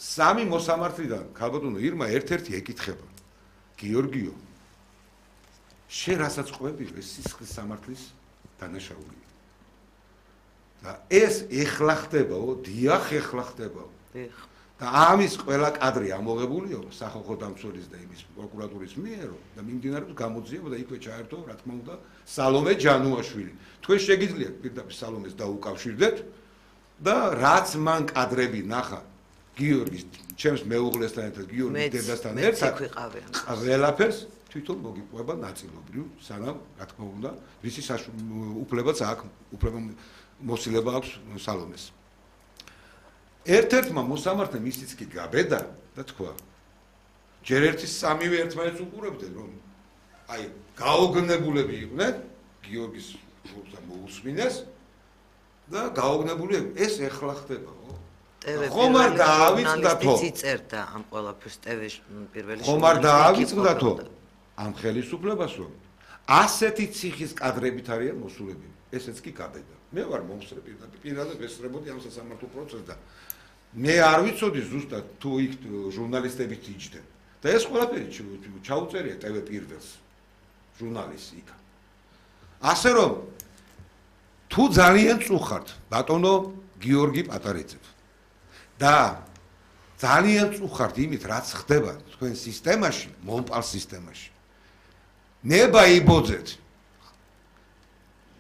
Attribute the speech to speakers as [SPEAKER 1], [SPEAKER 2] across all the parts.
[SPEAKER 1] სამი მოსამართლიდან ქალბატონო ირმა ერთ-ერთი ეკითხება გიორგიო შენ რასაც ყვები ეს სისხლის სამართლის დანაშაულია და ეს ეხლა ხდებაო დიახ ეხლა ხდებაო და ამის ყველა კადრი ამოღებულია სახალხო დამცველის და იმის პროკურატურის მიერო და მიმდინარეობს გამოძიება და იქვე ჩაერთო რა თქმა უნდა სალომე ჯანუაშვილი თქვენ შეგიძლიათ პირდაპირ სალომეს დაუკავშირდეთ და რაც მან კადრები ნახა გიორგის ჩემს მეუღლესთან ერთად გიორგის დედასთან ერთად ყველაფერს თვითონ მოგიყვება ნაწილობრივ სანამ რა თქმა უნდა ვისი უფლებაც აქვს უფლება მოსილება აქვს სალომეს ერთ-ერთმა მოსამართლემ ისიც კი გაბედა და თქვა ჯერ ერთი სამივე ერთმანეთს უყურებდნენ რომ აი გაოგნებულები იყვნენ გიორგის მოусმინეს და გაოგნებული ეს ეხლა ხდებაო ხომ არ დაავიწყდათო
[SPEAKER 2] წერდა ამ ყველაფერს ტვ-ში პირველი
[SPEAKER 1] ხომ არ დაავიწყდათო ამ ხელისუფლებას რომ ასეთი ციხის კადრებით არიან მოსულები ესეც კი გაბედა მე ვარ მომსწრე პირადად ვესწრებოდი ამ სასამართლო პროცესს და მე არ ვიცოდი ზუსტად თუ იქ ჟურნალისტებით იჯდნენ და ეს ყველაფერი ჩაუწერია ტვ პირველს ჟურნალისტი იქ ასე რომ თუ ძალიან წუხართ ბატონო გიორგი პატარიძე და ძალიან წუხართ იმით რაც ხდება თქვენ სისტემაში მომპალ სისტემაში ნება იბოძეთ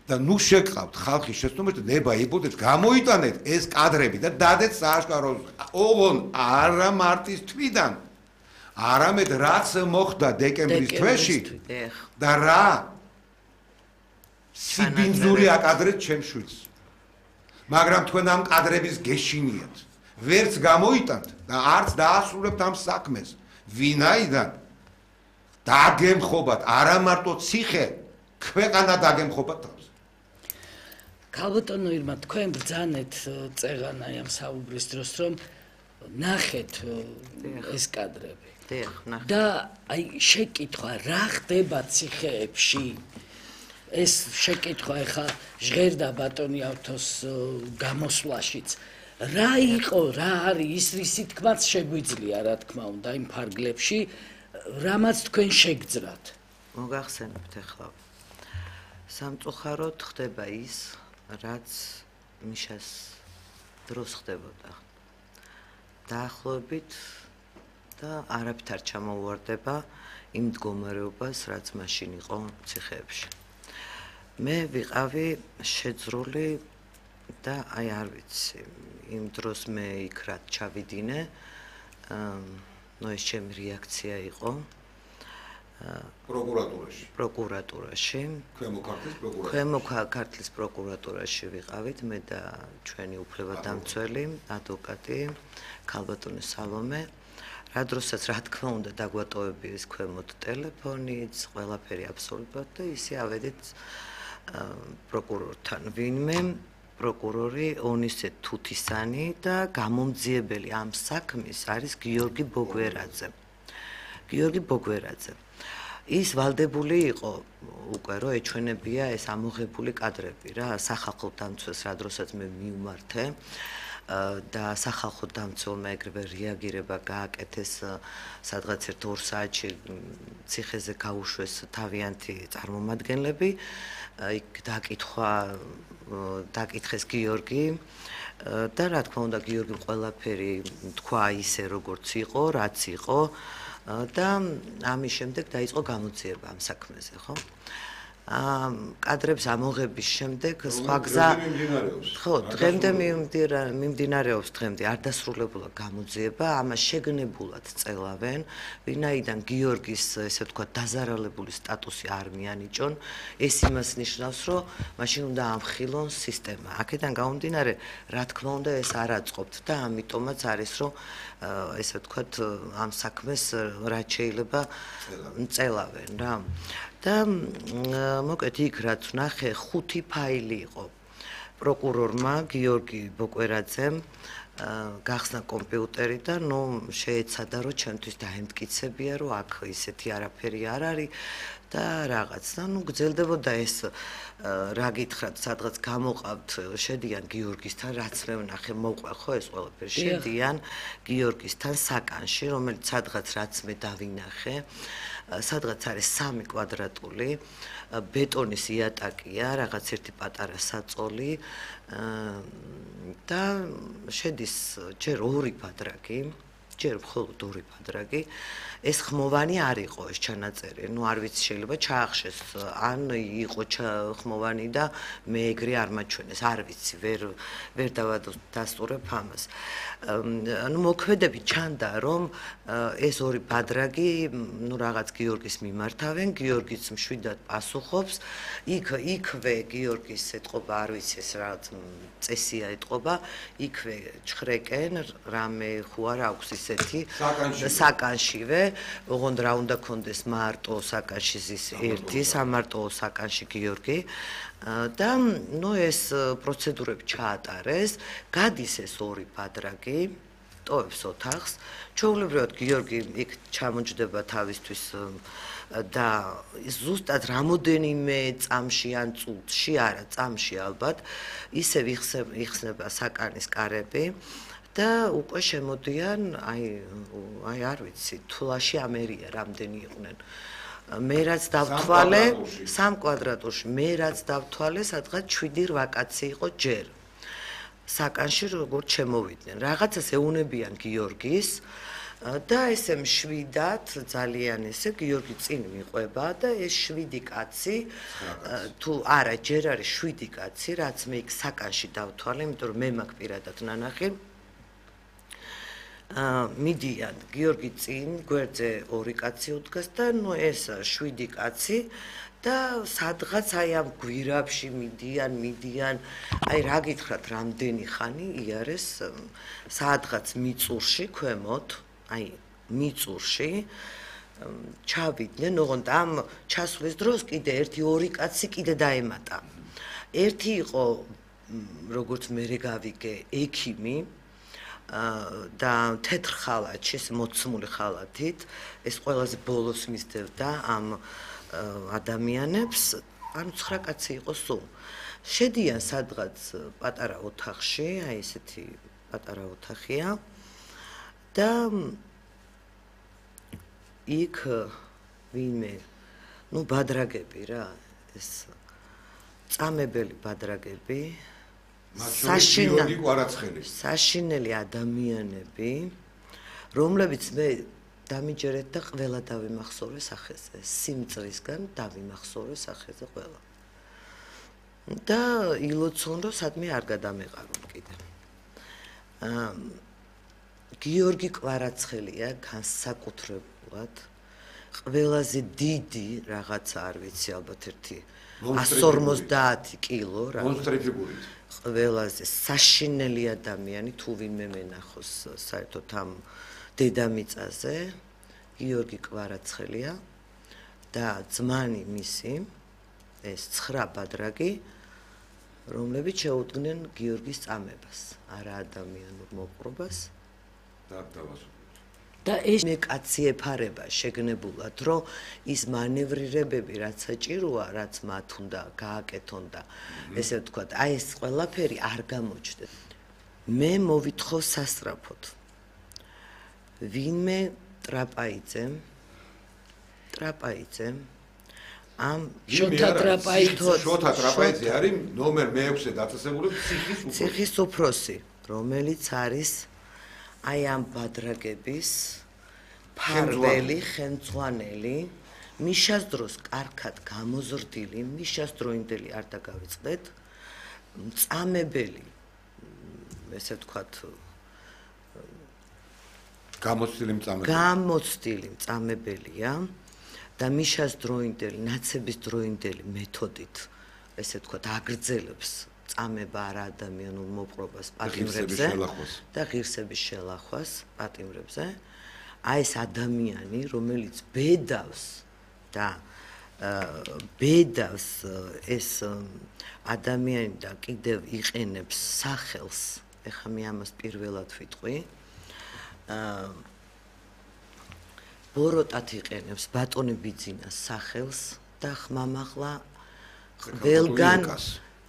[SPEAKER 1] და ნუ შეკავთ ხალხის შეცდომებით ნება იბოძეთ გამოიტანეთ ეს კადრები და დადეთ სააშკარო ოღონ არა მარტის თვიდან არამედ რაც მოხდა დეკემბრის თვეში და რა სიბინძური აკადრეთ ჩემს შვილს მაგრამ თქვენ ამ კადრების გეშინიათ ვერც გამოიტანთ და არც დაასრულებთ ამ საქმეს ვინაიდან დაგემხობათ არა მარტო ციხე ქვეყანა დაგემხობათ თავს
[SPEAKER 3] ქალბატონო ირმა თქვენ ბრძანეთ წეღანაი ამ საუბრის დროს რომ ნახეთ ეს კადრები და აი შეკითხვა რა ხდება ციხეებში ეს შეკითხვა ეხა ჟღერდა ბატონი ავთოს გამოსვლაშიც რა იყო რა არის ის რისი თქმაც შეგვიძლია რა თქმა უნდა იმ ფარგლებში რამაც თქვენ შეგძრათ
[SPEAKER 2] მოგახსენებთ ახლა სამწუხაროდ ხდება ის რაც მიშას დროს ხდებოდა დაახლოებით და არაფრით არ ჩამოუვარდება იმ მდგომარეობას რაც მაშინ იყო ციხეებში მე ვიყავი შეძრული და აი არ ვიცი იმ დროს მე იქ რაც ჩავიდინე ნუ ეს ჩემი რეაქცია იყო პროკურატურაში ქვემო ქართლის პროკურატურაში ვიყავით მე და ჩვენი უფლებადამცველი ადვოკატი ქალბატონი სალომე რა დროსაც რა თქმა უნდა დაგვატოვებიეს ქვემოთ ტელეფონიც ყველაფერი აბსოლუტურად და ისე ავედით პროკურორთან ვინმე პროკურორი ონისე თუთისანი და გამომძიებელი ამ საქმის არის გიორგი ბოგვერაძე ის ვალდებული იყო უკვე რომ ეჩვენებია ეს ამოღებული კადრები რა სახალხო დამცველს რა დროსაც მე მივმართე და სახალხო დამცველმა ეგრევე რეაგირება გააკეთეს სადღაც 2 საათში ციხეზე გაუშვეს თავიანთი წარმომადგენლები იქ დაკითხეს გიორგი და რა თქმა უნდა გიორგიმ ყველაფერი თქვა ისე როგორც იყო რაც იყო და ამის შემდეგ დაიწყო გამოძიება ამ საქმეზე ხო კადრებს ამოღების შემდეგ სხვა გზა ხო დღემდე მიმდინარეობს დღემდე არ დასრულებულა გამოძიება ამას შეგნებულად წელავენ ვინაიდან გიორგის ესე ვთქვათ დაზარალებული სტატუსი არ მიანიჭონ ეს იმას ნიშნავს რომ მაშინ უნდა ამხილონ სისტემა აქედან გამომდინარე რა თქმა უნდა ეს არ აწყობთ და ამიტომაც არის რომ ესე ვთქვათ ამ საქმეს რაც შეიძლება წელავენ რა და მოკეთ იქ რაც ვნახე 5 ფაილი იყო პროკურორმა გიორგი ბოკვერაძემ გახსნა კომპიუტერი და ნუ შეეცადა რომ ჩემთვის დაემტკიცებია რომ აქ ისეთი არაფერი არ არის და რაღაც და გძელდებოდა ეს რა გითხრათ სადღაც გამოყავთ შედიან გიორგისთან რაც მე ვნახე მოყვე ხო ეს ყველაფერი შედიან გიორგისთან საკანში რომელიც სადღაც რაც მე დავინახე სადღაც არის 3 კვადრატული ბეტონის იატაკია რაღაც ერთი პატარა საწოლი და შედის ჯერ 2 ბადრაგი ჯერ მხოლოდ 2 ბადრაგი ეს ხმოვანი არ იყო ეს ჩანაწერი ნუ არ ვიცი შეიძლება ჩაახშეს ან იყო ხმოვანი და მე ეგრე არ მაჩვენეს არ ვიცი ვერ დავადასტურებ ამას ანუ მოქმედები ჩანდა რომ ეს 2 ბადრაგი ნუ რაღაც გიორგის მიმართავენ გიორგიც მშვიდად პასუხობს იქვე გიორგის ეთყობა არ ვიცი ეს რაღაც წესია ეთყობა იქვე ჩხრეკენ რამე ხო არ აქვს ისეთი საკანშივე ოღონდ რა უნდა კონდეს მარტო საკანში ზის ერთი სამარტო საკანში გიორგი და ნუ ეს პროცედურები ჩაატარეს გადის ეს 2 ბადრაგი ტოვებს ოთახს ჩვეულებრივად გიორგი იქ ჩამოჯდება თავისთვის და ზუსტად რამოდენიმე წამში ან წუთში არა წამში ალბათ ისევ იხსნება საკანის კარები და უკვე შემოდიან აი არ ვიცი თულაში ამერია რამდენი იყვნენ მე რაც დავთვალე 3 კვადრატულში მე რაც დავთვალე სადღაც 7-8 კაცი იყო ჯერ საკანში როგორც შემოვიდნენ რაღაცას ეუნებიან გიორგის და ესე მშვიდად ძალიან ესე გიორგი წინ მიყვება და ეს 7 კაცი თუ არა ჯერ არის 7 კაცი რაც მე იქ საკანში დავთვალე იმიტომ რომ მე მაქვს პირადად ნანახი მიდიან გიორგი წინ გვერდზე 2 კაცი უდგას და ნუ ეს 7 კაცი და სადღაც აი ამ გვირაბში მიდიან აი რა გითხრათ რამდენი ხანი იარეს სადღაც მიწურში ქვემოთ აი მიწურში ჩავიდნენ ოღონდ ამ ჩასვლის დროს კიდე 1-2 კაცი კიდე დაემატა ერთი იყო როგორც მე გავიგე ექიმი და თეთრ ხალათში მოცმული ხალათით ეს ყველაზე ბოლოს მისდევდა ამ ადამიანებს ანუ 9 კაცი იყო სულ შედიან სადღაც პატარა ოთახში აი ესეთი პატარა ოთახია და იქ ვინმე ნუ ბადრაგები რა ეს წამებელი ბადრაგები საშინელი ადამიანები რომლებიც მე დამიჯერეთ და ყველა დავიმახსოვრე სახეზე სიმწრისგან დავიმახსოვრე სახეზე ყველა და ილოცონ რომ სადმე არ გადამეყარონ კიდე გიორგი კვარაცხელია განსაკუთრებულად ყველაზე დიდი რაღაცა არ ვიცი ალბათ ერთი 150 კილო რა
[SPEAKER 1] მონსტრი ფიგურით
[SPEAKER 2] ყველაზე საშინელი ადამიანი თუ ვინმე მენახოს საერთოდ ამ დედამიწაზე გიორგი კვარაცხელია და ძმანი მისი ეს 9 ბადრაგი რომლებიც შეუდგნენ გიორგის წამებას არა ადამიანურ მოპყრობას და ეს მე კაცი ეფარება შეგნებულად რომ ის მანევრირებები რაც საჭიროა რაც მათ უნდა გააკეთონ და ესე ვთქვათ აი ეს ყველაფერი არ გამოჩნდეს მე მოვითხოვ სასწრაფოდ ვინმე ტრაპაიძე ამ
[SPEAKER 3] შოთა
[SPEAKER 1] ტრაპაიძე არის ნომერ მე-6-ე დაწესებული
[SPEAKER 2] ციხის უფროსი რომელიც არის აი ამ ბადრაგების ფარველი ხელმძღვანელი მიშას დროს კარგად გამოზრდილი მიშას დროინდელი არ დაგავიწყდეთ წამებელი ესე ვთქვათ გამოცდილი წამებელია და მიშას დროინდელი ნაცების დროინდელი მეთოდით ესე ვთქვათ აგრძელებს წამება არა ადამიანურ მოპყრობას პატიმრებზე და ღირსების შელახვას პატიმრებზე აი ეს ადამიანი რომელიც ბედავს და ბედავს ეს ადამიანი და კიდევ იყენებს სახელს ეხლა მე ამას პირველად ვიტყვი ბოროტად იყენებს ბატონი ბიძინას სახელს და ხმამაღლა ყველგან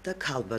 [SPEAKER 2] და ქალბატონი